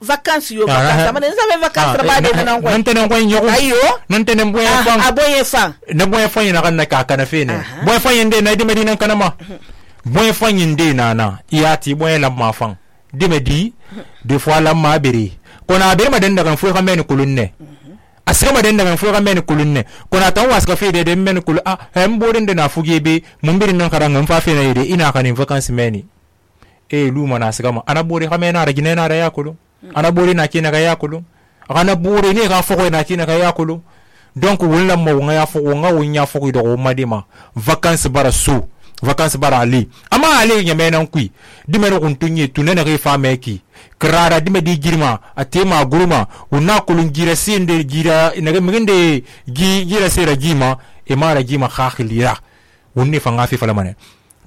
vacances yo vacances ma nza vacances ba de nan ko nantene ko nyoko ayo nantene boy fang aboye fang na boy fang na kan na ka kana fe ne boy fang inde na di medina kana ma boy fang inde na iyati boy la ma fang de medi de fois la ma bere ko na bere ma den daga fu ka men kulunne asira ma den daga fu ka men kulunne ko na tan waska fe de men kul borin de na fuge be mun birin nan karanga fa fe na yede ina kanin vacances meni luma na sigama ana bori ka mena ra gine na ra yakulu ana bori na kina ga yakulu ana bori ne ga foko na kina ga yakulu donc wala mo nga ya foko nga wonya foko do madima vacances bara su vacances bara ali ama ali nyame nan kui dimero kun tunye tunene ga fa meki krara dime di girma atema guruma una kulun gira sinde gira inaga migende gira sera gima e mara gima khakhilira wonni fa ngafi fala mane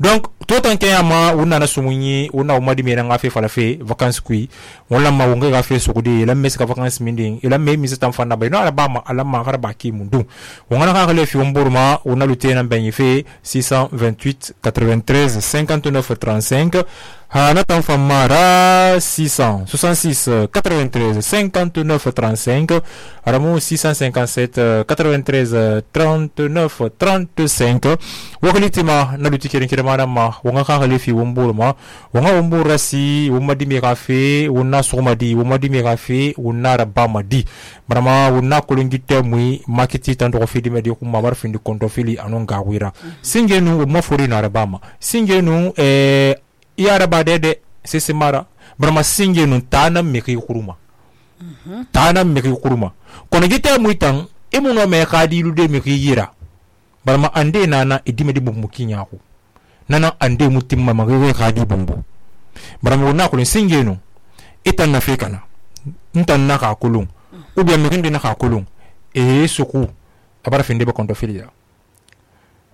donc tout en kayama una na sumunyi una umadi mera ngafe fala fe vacances kui wala ma wonga gafe sokudi la mes ka vacances minding ila me mi setam fanda bay no ala ba ma ala ma garba ki mundu wonga na ka fi womburma una lutena benyi fe 628 93 59 35 hana tan famara 666 93 59 35 aramu 657 93 39 35 wakalitima na lutikirin kirmana ma wonga ka fi womburma wonga wombura si womadi mi kafe wonna somadi womadi mi kafe wonna rabama di marama wonna kulungite mui marketi tan do fidi medi ko mamar findi konto fili anon gawira singenu mo fori na rabama singenu yara ba dede sisi mara brama singe nun tana meki kuruma tana meki kuruma kono gite muitan imuno me khadilu de meki yira brama ande nana idime di bumbu kinyaku nana ande mutimma magwe khadi bumbu brama wona ko singe nun itan na fekana ntan na ka kulung ubia meki na ka kulung suku abara finde be konto filia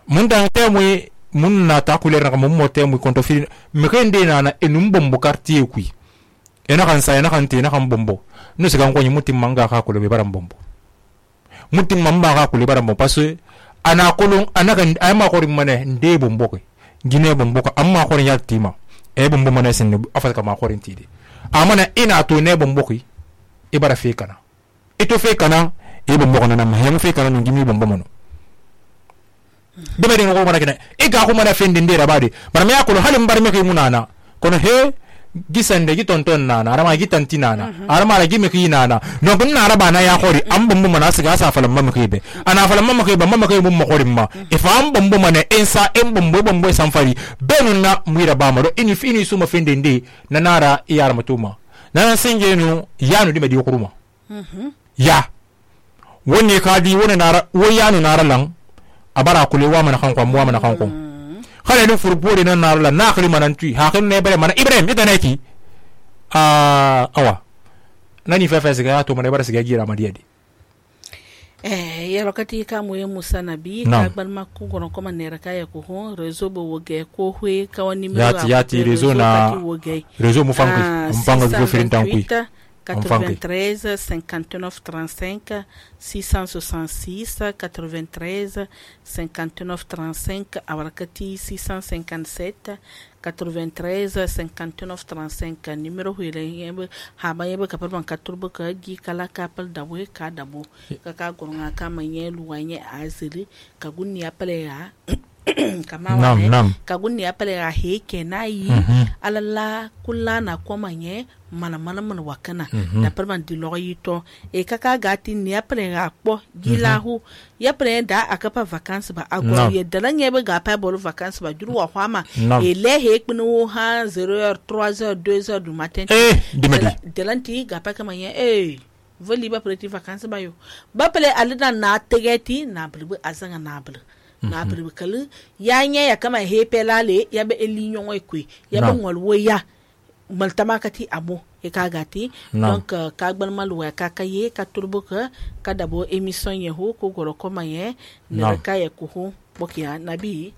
munda temwe mun na ta kuler na mo mote mu konto fili mekende na enum bombo quartier kui ena kan sa ena kan te na kan bombo no se kan ko mutim manga ka kulo be baram bombo mutim mamba ka kulo baram bombo parce ana kulun ana kan ay ma ko rimane nde bombo ko gine bombo ko amma ko ya tima bombo mane sen afa ka ma ko rintide amana ina to ne bombo ko e bara fe kana ito fe kana bombo kana na ma hem fe kana no gimi bombo mono debe den ko mara kene ga ko mara fendi ndera badi bara me yakolo halim bar me kay munana kono he gisande gi tonton nana arama gi tantinana arama la gi me ki nana no gun na araba na ya khori am bumbu mana siga sa falam mamma kebe ana falam mamma kebe mamma kebe bumma khori ma e fa am bumbu mana ensa em bumbu samfari benun na muira ba ma do ini suma fendi ndi nanara iyar matuma nana singenu yanu di me di kuruma ya woni kadi woni nara wo yanu nara lang abara kule wa mana kan ko mo mana kan ko khale no furpore nan na la nakhli manan tui ha kan ne bare mana ibrahim idanaki awa nani fefe siga to mana bare siga gira madiadi ya lokati ka moye Musa Nabi ka ban makko gono ko manera ka ya ko ho rezo bo woge ko hwe ka woni mi yati rezo na rezo mu fango ko firin tan kui 93 59 35 666 93 59 35 abarakati 657 93 59 35 numéro huile yebe haba yebe kapal ban katurbo ka gi kala kapal dawe ka dabo ka gonga ka manye luwanye azili ka gunni apale ya kama wane kagunni apale ya heke na yi alala kula na kwa manye mana wakana na perman di loyito e kaka gati ni apale ya po gilahu ya pre da akapa vacances ba agwa ye dalan ye ga pa bol vacances ba juru wa hwama e le he kpinu ha 0h 3h 2h du matin dalan ti ga pa kama ye voli ba preti vacances ba yo ba pele alida na tegeti na bulu azanga na bulu na bribikalu ya nya ya kama hepe lale ya be elinyo ekwe ya be ngolwo ya maltamakati abo e kagati donc kagban malwa kakaye ka turbuka kadabo emission ye ho ko goro koma ye ne ka ye ko ho bokia nabi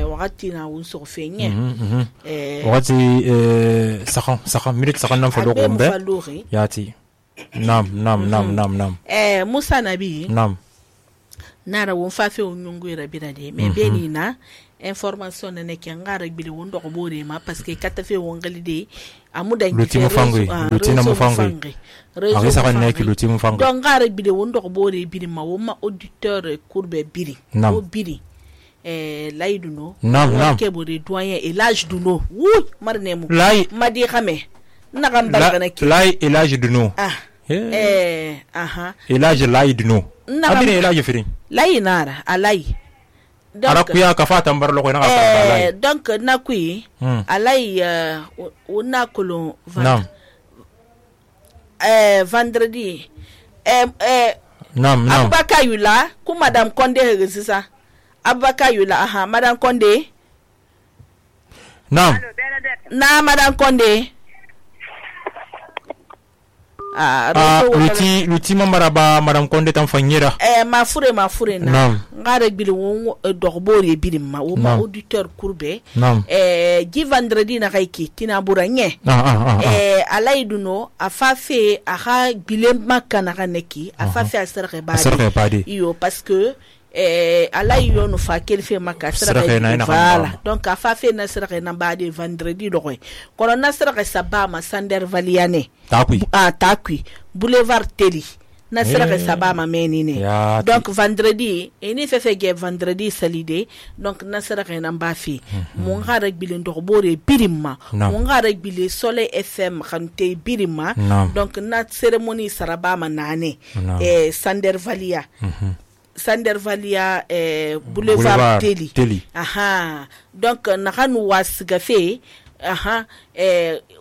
wakati na unso fenye wakati sakam minute sakam nam falo gombe yati nam Musa Nabi nam nara won fafe onyungu irabira de me beni na information ne ke ngara bili wondo ko bore ma parce que kata fe wongali de amuda luti mufangi luti na mufangi arisa kan neki luti mufangi donc ngare bide wondo ko bore biri ma woma auditeur courbe biri o biri laiduno nam ke bore doyen et l'âge duno oui marnemu madi xame na kan bargana ki l'âge duno l'âge laiduno abine l'âge firin lainara alai arakuya ka fata mbar lo ko na ka donc nakui alai una kolon vendredi nam Abubakar Yula ku madame Condé resisa Abubakar Yula madame Condé nam na madame Condé luti mamaraba madame Condé tan fanyira mafure na ngare bili won dogbore bili ma o ma auditeur courbe gi vendredi na kaiki tina buranye alaiduno afafe aha bile makana kaneki afafe asarke badi iyo parce que alai yo no fa kel fe makasra voilà donc afafe na sra na badi vendredi doy kono na sra sabama sander valiane takui boulevard teli na sra sabama menine donc vendredi eni fe ge vendredi salide donc na sra na mbafi mon ngara bile ndobore birimma mon ngara bile soleil fm khante birimma donc na cérémonie sarabama nane sander valia Sander Valia boulevard Teli. Donc nakanu wasgafe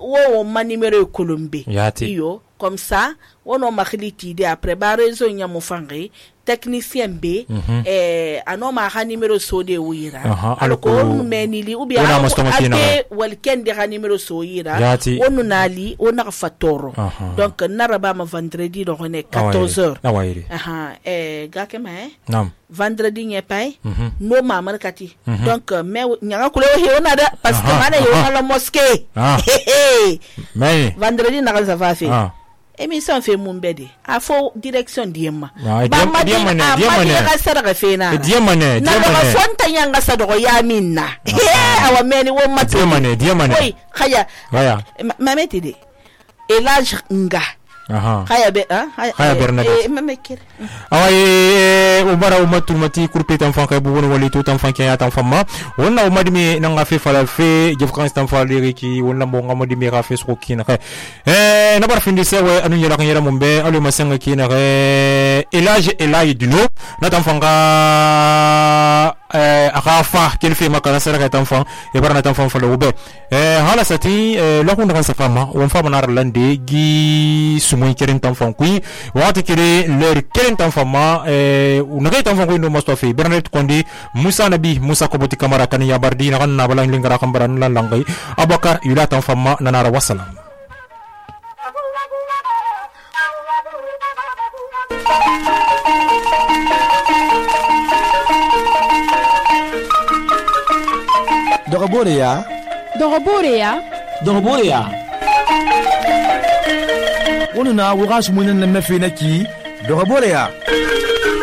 wo ma numéro Colombe iyo comme ça wono makhiliti de après ba réseau nyamufangi technicien B anoma ha numéro sode wira alko menili ou bien ate walken de ha numéro so yira wonu nali ona fatoro donc naraba ma vendredi do ne 14h gakema nam vendredi nye pay no mama kati donc me nyanga kule he ona da parce que mana yo la mosquée mais vendredi na ka fa fait émission fait mon bébé a faux direction diema diema na fonta yanga sa do ya minna awa meni wo matu diema oui khaya mameti de elage nga khaya be khaya bernadette mamekir awaye ubara umatul mati kurpe tan fanka bu woni wali to tan fanka ya tan famma wonna umadi mi nanga fe falal fe jef kan tan falere ki wonna mo ngamodi mi rafe so kina na bar findi sewe anu yela kan yela mumbe alu masanga kina elage duno na tan fanka akafa kelfe makana sara tan fan e barana tan fan falo be hala sati la kun kan sa fama won fama nar lande gi sumoy keren tan fan kui wati kere leur keren tan fama unagay tan fan kui no mustafa Bernard Condé Musa Nabi Musa Koboti Kamara kan ya bardi na kan na balang lingara kan baran lan langay Abubakar Yula tan fama nanara wassalam Dogoboreya wonu na wuga sumunin na mafi naki Dogoboreya